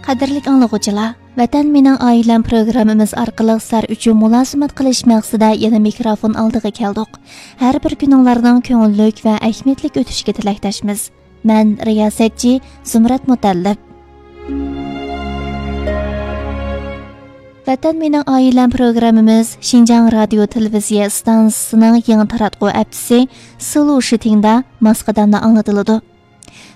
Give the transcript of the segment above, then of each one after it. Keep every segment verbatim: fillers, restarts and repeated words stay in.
قەدىرلىك ئاڭلىغۇچىلار، ۋەتەن مېنىڭ ئائىلەم پروگراممىمىز ئارقىلىق سىلەر ئۈچۈن مۇلازىمەت قىلىش مەقسىتىدە يەنە مىكروفون ئالدىغا كەلدۇق. ھەر بىر كۈنۈڭلارنىڭ كۆڭۈللۈك ۋە ئەھمىيەتلىك ئۆتۈشىگە تىلەكداشمىز. مەن رىياسەتچى زۇمرەت مۇتەللىپ. ۋەتەن مېنىڭ ئائىلەم پروگراممىمىز شىنجاڭ رادىيو تېلېۋىزىيە ئىستانسىسىنىڭ يېڭى تاراتقۇ ئەپچىسى سىلۇ شىتىڭدا ماس قەدەمدە ئاڭلىتىلىدۇ.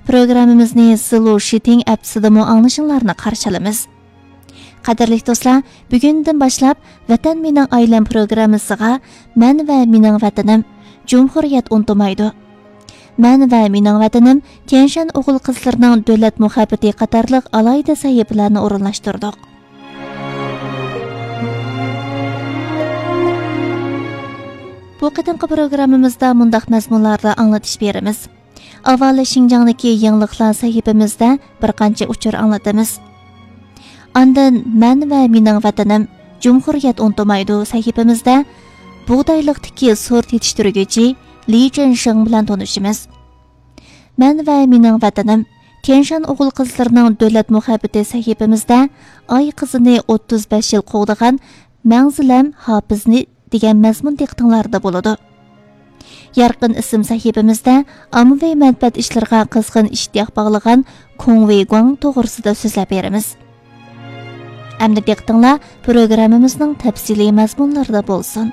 پروگراممىمىزنى سىلۇ شىتىڭ ئەپچىسىدىمۇ ئاڭلىشىڭلارنى قارشى ئالىمىز. قەدىرلىك دوستلار، بۈگۈندىن باشلاپ ۋەتەن مېنىڭ ئائىلەم پروگراممىسىغا مەن ۋە مېنىڭ ۋەتىنىم، جۇمھۇرىيەت ئۇنتۇمايدۇ. مەن ۋە مېنىڭ ۋەتىنىم، تيەنشان ئوغۇل قىزلىرىنىڭ دۆلەت مۇھەببىتى قاتارلىق ئالاھىدە سەھىپىلەرنى ئورۇنلاشتۇردۇق. بۇ قېتىمقى پروگراممىمىزدا مۇنداق مەزمۇنلاردا ئاڭلىتىش بېرىمىز. ئاۋۋال شىنجاڭدىكى يېڭىلىقلار سەھىپىمىزدە بىر قانچە ئۇچۇر ئاڭلىتىمىز. ئاندىن مەن ۋە مېنىڭ ۋەتىنىم، جۇمھۇرىيەت ئۇنتۇمايدۇ سەھىپىمىزدە بۇغدايلىقتىكى سورت يېتىشتۈرگۈچى لى جېنشېڭ بىلەن تونۇشىمىز. مەن ۋە مېنىڭ ۋەتىنىم، تيەنشان ئوغۇل قىزلىرىنىڭ دۆلەت مۇھەببىتى سەھىپىمىزدە ئاي قىزىنى ئوتتۇز بەش يىل قوغدىغان مەڭزىلەم ھاپىزنى دېگەن مەزمۇن دىققىتىڭلاردا بولىدۇ. يارقىن ئىسىم سەھىپىمىزدە ئاممىۋى مەنپەئەت ئىشلىرىغا قىزغىن ئىشتىياق باغلىغان كۇڭ ۋېيگۇاڭ توغرىسىدا سۆزلەپ بېرىمىز. ئەمدى دىققىتىڭلار پروگراممىمىزنىڭ تەپسىلىي مەزمۇنلىرىدا بولسۇن.